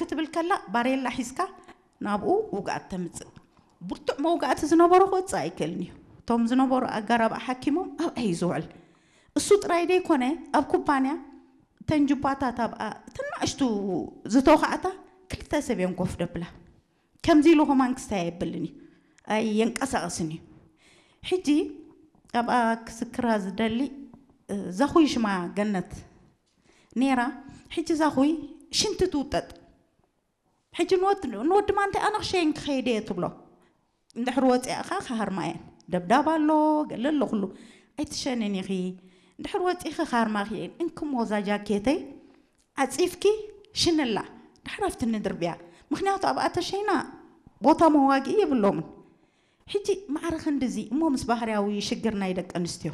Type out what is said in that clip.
ክትብል ከላ ባሬላ ሒዝካ ናብኡ ውግኣት ተምፅእ። ብርቱዕ መውጋእቲ ዝነበሮ ክወፅእ ኣይክእልን እዩ። እቶም ዝነበሩ ኣጋራብ ሓኪሞም ኣብኣ እዩ ዝውዕል። እሱ ጥራይ ደይኮነ ኣብ ኩባንያ እተን ጁባታት ኣብኣ እተን ናእሽቱ ዝተውካዕታ ክልተ ሰብ እዮም ኮፍ ደብላ። ከምዚ ኢሉ ከማን ክስታይ ኣይብልን እዩ። ኣየንቀሳቐስን እዩ። ሕጂ ኣብኣ ክስክራ ዝደሊ ዛኹይ ሽማ ገነት ነይራ። ሕጂ ዛኹይ ሽንቲ ትውጠጥ። ሕጂ ንወዲ ማንታይ ኣነ ክሸይን ክኸይደ እየ ትብሎ። እንድሕር ወፂእኻ ክሃርማ እየን። ደብዳብ ኣሎ፣ ገለ ኣሎ ኩሉ። ኣይትሸንን ኢኺ። እንድሕር ወፂእኺ ክሃርማኺ እየን። እንክሞ እዛ ጃኬተይ ዓፂፍኪ ሽንላ። ድሕር ኣብቲ ንድርብያ። ምክንያቱ ኣብኣ ተሸይና ቦታ መዋግኢ የብሎምን። ሕጂ ማዕረ ክንድዚ እሞ ምስ ባህርያዊ ሽግር ናይ ደቂ ኣንስትዮ።